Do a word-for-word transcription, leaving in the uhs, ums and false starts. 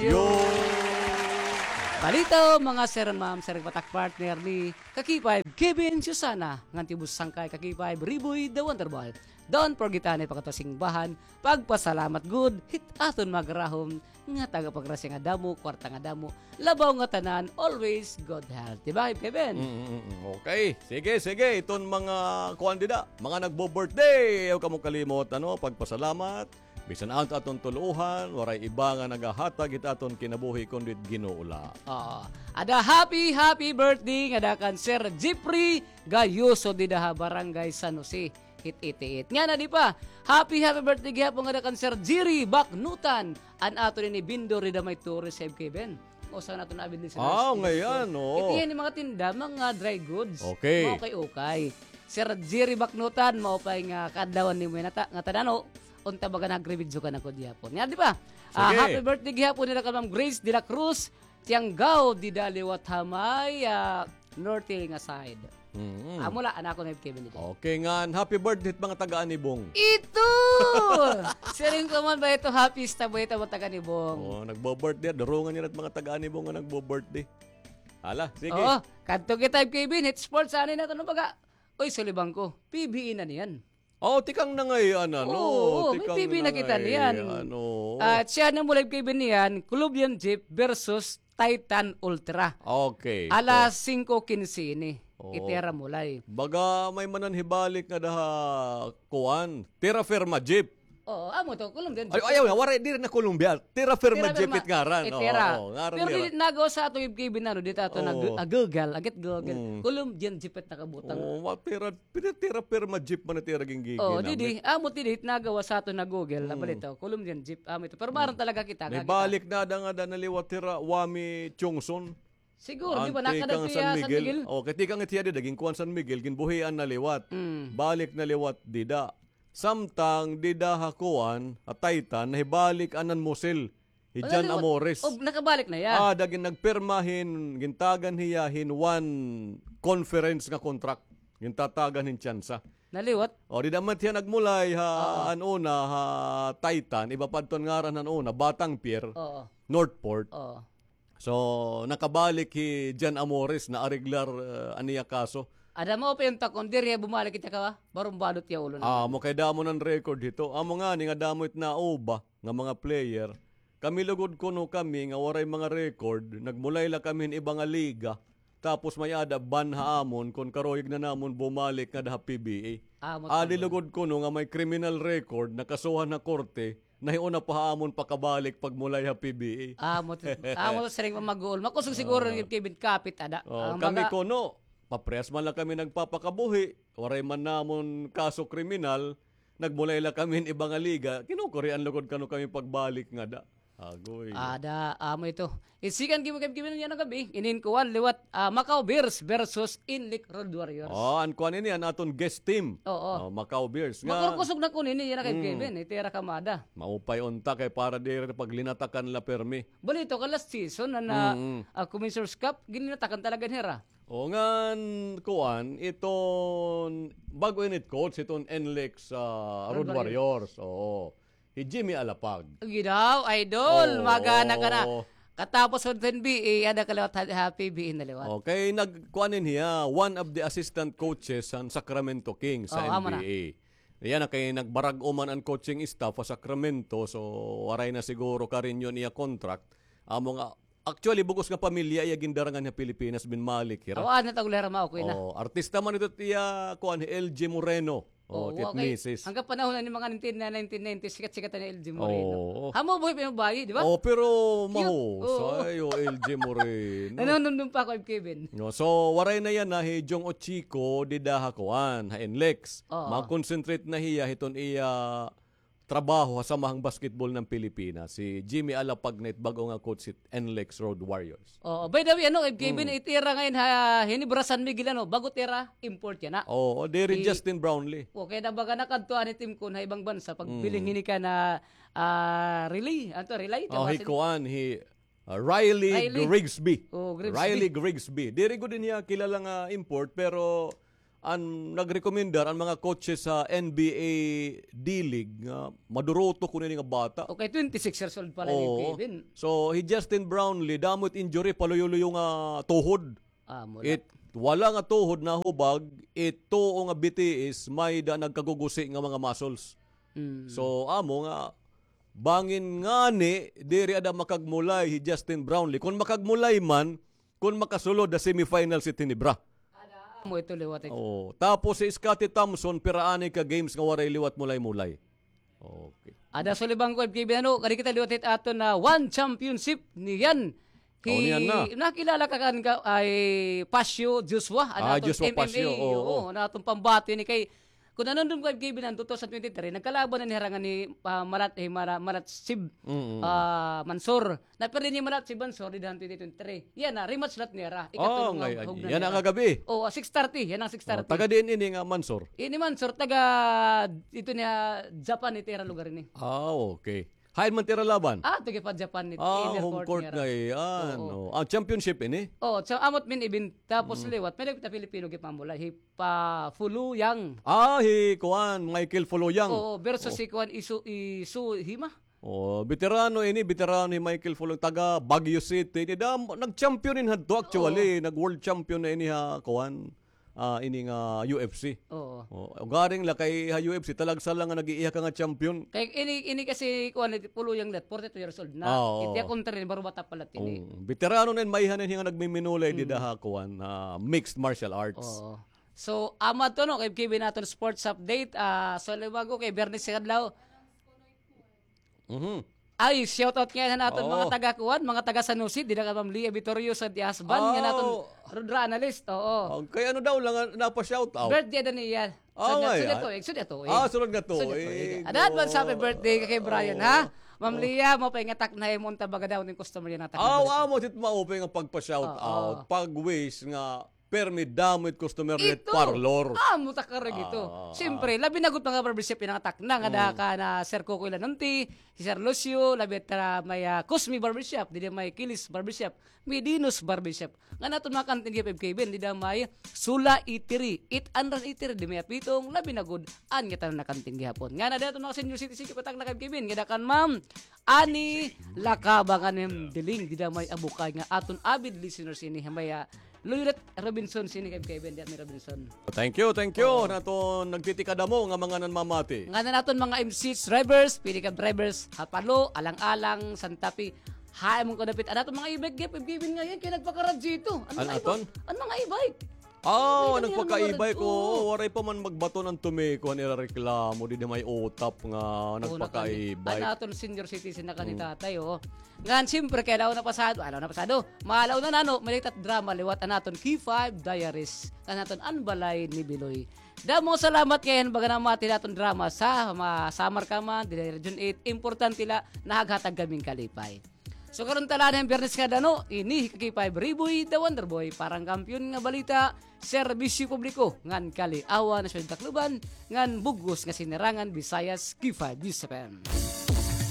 Yo! Balitaw, mga sir and ma'am, sir, batak partner ni Kakipay, Kevin Susana, ngan tibus sangkay Kakipay, Riboy, the Wonderful. Don't forget, anay, pagkatusing bahan, pagpasalamat gud, hit aton magrahom, nga taga pagrasya nga damo, kwarta nga damo, labaw nga tanan, always good health. Di ba, Kevin? Mm, mm, mm. Okay. Sige, sige. Iton mga kuan dida, mga nagbo-birthday. Ayaw kamo kalimot, ano, pagpasalamat. Bisan an aton tuluhan, waray iba nga nagahatag hit aton kinabuhi kundi it Ginoo la. Oo. Ada happy, happy birthday ngada kan Sir Jeffrey Gayoso dida ha Barangay San Jose, hit eighty-eight. Ngan adi pa, happy, happy birthday gihapon ngada kan Sir Jerry Baknutan, an aton ini vendor dida may tourist, Sir Kevin. Usa naton na business. Ah, ngayon, oo. Iti ini mga tinda, mga dry goods. Okay. Mga ukay-ukay. Sir Jerry Baknutan, maupay nga kaadlawan nimo yana ta, nga tanan-o, unta baga nag-revenge ka na ko gihapon. Nga, di ba? Ah, sige. Happy birthday gihapon nila kan Ma'am Grace de la Cruz, Tianggao, dida liwat ha may, ah, Norte nga side. Mm. Amo la, anak ko na Kevin dito. Okay, ngan happy birthday hit mga taga Anibong. Ito! Siring ko man ba ito, happy ista ba ito, mga taga Anibong? Oh, nagbo-birthday, durungan niya na it mga taga Anibong nga nagbo-birthday. Hala, sige. Oo, kadto kita, Kevin, hit sports, ano na ito, ano baga? Uy, sulibang ko, P B A na niyan. Oh, tikang na ngay-an, ano? Oo, may P B A na kita niyan. Ano? At siya na mula, Kevin, niyan, Club Yan Jeep versus Titan Ultra. Okay. Alas singko kinse ini. Oo. Itira mulay. Baga may mananhibalik nga daha kuan. Tira Firma Jeep. Oo, amo to, Colombian Jeep. Ay, ayaw, waray, diri na Colombia. Tira Firma Jeep it ngaran. Itira. Oo, ngaran nira. Pero dili nagawas sa aton, Kevin, ano, dito ato na Google, agit Google. Colombian Jeep it nakabutang. Oo, wa-, tira, pina-, tira Firma Jeep man it ira ginggigin. Oo, didi, amo didi, nagawas sa aton na Google, nabalita, Colombian Jeep, amo ito. Pero maaram talaga kita. May balik na da nga da na liwat hira, Wami Chungson. Siguro, di ba, nakadagto iya San Miguel? O, kay tikang it hiya dida, ginkuan San Miguel, ginbuhian na liwat. Mm. Balik na liwat dida. Samtang dida ha kuan, ha Titan, nahibalik an nanmusil. Hi Jan Amores. O, nakabalik na iya. Ah, da gin-, nagpirma hin, gintagan hiya hin one conference nga contract. Gintatagan hin tsansa. Naliwat? O, dida man hiya nagmulay ha, an una, ha Titan, iba pa adto an ngaran han una, Batang Pier, Northport. Oo. So, nakabalik hi Jan Amores na areglar, eh, an iya kaso. Ada mo pa yung takon, diri bumalik kita ka, barumbado tiya ulo na. Ah, amo kay damo nan record hito. Amo ngani nga damo it nauba nga mga player. Kami lugod kuno kami nga waray mga record, nagmulay la kami hin iba nga liga. Tapos may-ada ban ha amon kon karuyag na namon bumalik ngada ha P B A. Amo. Adi lugod kuno nga may criminal record, nakasuhan ha korte, nahiuna pa ha amon pakabalik pagmulay ha P B A. Amo, amo siring man mag-uol. Makusog siguro ni Kevin kapit ada. Oh, kami kuno, paprehas man la kami nagpapakabuhi, waray man namon kaso kriminal, nagmulay la kami hin iba nga liga, kinukurian lugod kuno kami pagbalik ngada. Agoy. Ada, amo ito. Isikan gimo kay gimo yana gabi, inin kuan liwat, ah, Macau Bears versus Inlik Road Warriors. Oh, an kuan ini, an aton guest team. Oo. Oh, Macau Bears. Nga makurkusog na kuno ini, yana kay Kevin, itira kamada. Maupay unta kay para diri paglinatakan la permi. Balita ka last season na, na, ah, Commissioner's Cup, ginlinatakan talaga nira. O ngan, kuan, iton bag-o ini it coach, iton Inlik sa Road Warriors. Oo. Hi Jimmy Alapag. Ginaw, idol. Oo. Magana ka na. Katapos ho hin B A, ada ka liwat ha, ha P B A na liwat. Okay, nagkuan ini hiya, one of the assistant coaches han Sacramento Kings sa N B A. Yana kay nagbarag-o man an coaching staff ha Sacramento, so waray na siguro ka-renew an iya contract. Amo nga, actually, bug-os nga pamilya iya gindarangan ha Pilipinas, binmalik hira. Aw, ah, natagulera mao, kuya na. Oh, artista man ito iya, kuan, hi L G Moreno. Oh, okay. Misis. Hanggang panahon na ni mga nineteen, nineteen ninety, sikat-sikat na L G Moreno. Oo. Amo, buhi pa yung bayi, di ba? Oh, pero mahusay, oh, L G Moreno. Nanunumdum pa ako, Kevin. No, so, waray na yana hi Jong Ochiko, dida ha kuan, ha Inlik. Oo. Ma-concentrate na hiya, hiton iya trabaho ha Samahang Basketball ng Pilipinas, hi Jimmy Alapag na it bag-o nga coach hit Inlik Road Warriors. Oo, by the way, ano, Kevin, itira ngayon ha, Ginebra San Miguel, ano, bag-o tira, import yana. Oo, diri hi Justin Brownlee. Okay, na baga nakadto an team kon ha ibang bansa, pagbiling hini ka na, ah, relay, ano to, relay? Oh, hi kuan, hi, ah, Riley Grigsby. Oh, Grigsby. Riley Grigsby. Diri gud niya kilala nga import, pero an nagrekomendar an mga coaches sa N B A D-League nga maduruto kuno ini nga bata. Okay, twenty-six years old pa la ini, Kevin. So, hi Justin Brownlee, damo it injury, paluyo-luyo nga tuhod. It wala nga tuhod nahubag, it tuo nga B T S, may-ada nagkagugusi nga mga muscles. So, amo nga, bangin ngani, diri ada makagmulay hi Justin Brownlee. Kon makagmulay man, kon makasulod ha semifinals it Ginebra. Amo ito liwat ito. Oh, tapos si Scottie Thompson, pira anay ka games nga waray liwat mulay-mulay. Okay. Ada sulibang ko, Kevin, ano, kadi kita liwat it aton nga one championship niyan. Nakilala ka kan ka, ay, Pasio Joshua, an aton M M A, oo, an aton pambati ini kay Kun nanumdom ka, Kevin, an two thousand twenty-three, nagkalaban na ni hira ngan ni, ah, Marat, eh, Mara-, Marat Sib, ah, Mansur. Napirdi ni Marat Sib Mansur dida han twenty twenty-three. Yana, rematch la it nira. Ikatulo nga hugna nira. Yana kagab-i. Oo, six thirty. Yana nga six thirty. Taga diin ini nga Mansur? Ini Mansur, taga, ito niya, Japan, ito ira lugar ini. Ah, okay. Hain man it ira laban? Ah, taga pa Japan, ito, inner court nira. Ah, home court na iyan. Oo. Ah, championship ini? Oo, so, amo it main event. Tapos liwat, may nagpita Filipino gipamulay. Hi pa Fulu Yang. Ah, hi kuan, Michael Fulu Yang. Oo, versus si kuan, Isu, Isu Hima. Oh, veterano ini, veterano hi Michael Fulu Yang, taga Baguio City. Ini da, nag-champion ini hadto actually, nag-world champion na ini ha kuan. Ah, ini nga U F C. Oo. Oh, ugaring la kay ha U F C, talagsa la nga nag-iiha ka nga champion. Kay ini, ini kasi kuan, Fulu Yang la, forty-two years old na. Ah, oo. Iti iya kontra ini, barbata pa la ini. Oh, veterano na ini, maiha na ini nga nagmiminulay dida ha kuan, ah, mixed martial arts. Oo. So, amo adto, no, kay Kevin, aton sports update. Ah, so, liwat ko kay Biyernes nga adlaw. Mhm. Ay, shout out ngay-an han aton mga taga kuan, mga taga San Jose, dida kan Ma'am Lia Vitorioso, the husband, ngan aton Rudra analyst, oo. Kay ano daw la nga napa-shout out? Birthday ada niya. Ah, sunod nga tuig, sunod nga tuig. Ah, sunod nga tuig. Ada advance happy birthday kay Brian, ha? Ma'am Lia, maupay nga takna imo unta baga daw nin customer yana takna. Aw, amo it maupay nga pagpa-shout out, pag-wish nga Permi damo it customer it parlor. Amo ta karag ito. Siyempre, labi na gud mga barbershop yana nga takna nga ada kan Sir Coco Ilanonti, hi Sir Lucio, labi ta may, ah, Cosme Barbershop, dida may Kilis Barbershop, may Dinos Barbershop. Ngan aton mga kantin gihap, Kevin, dida may Sula Eatery, eight hundred Eatery, dida may apitong, labi na gud an ngatanan nga kantin gihapon. Ngan ada aton mga senior citizen, kipatak na kay Kevin, nga ada kan Ma'am Ani Lakabangan, Ma'am Diling, dida may abukay nga aton avid listeners ini, may, ah, Luyret Robinson, sini kay Kevin, diyan ni Robinson. Thank you, thank you. Oo. Naton nagtitikadamo nga mga nanmamati. Ngan an aton mga M C H drivers, pedicab drivers, Hapalo, Alang-alang, Santa Fe. Hain man kadapit. An aton mga e-bike, Kevin, nga yan, kay nagpakaradyo ito. An mga e-bike? An mga e-bike. Aw, nagpaka-e-bike, oo. Waray pa man magbaton an tumiko han ira reklamo, dida may utap nga nagpaka-e-bike. An aton senior citizen na kan ni tatay, oo. Ngan, siyempre, kay adlaw na pasado, adlaw na pasado, maadlaw na nano, may latest drama liwat an aton K five Diaries, ngan aton An Balay ni Biloy. Damo nga salamat kay han baga namati han aton drama sa, ma-, Samar ka man, dida Region eight, importante la, nahaghatag kami hin kalipay. So, karon ta la han Biyernes nga adlaw, ini hi K five Riboy, the Wonder Boy, para han Kampiyon nga Balita, Serbisyo Publiko, ngan Kali-awan han Siyudad Tacloban, ngan bug-os nga sinirangan, Visayas, K five News F M.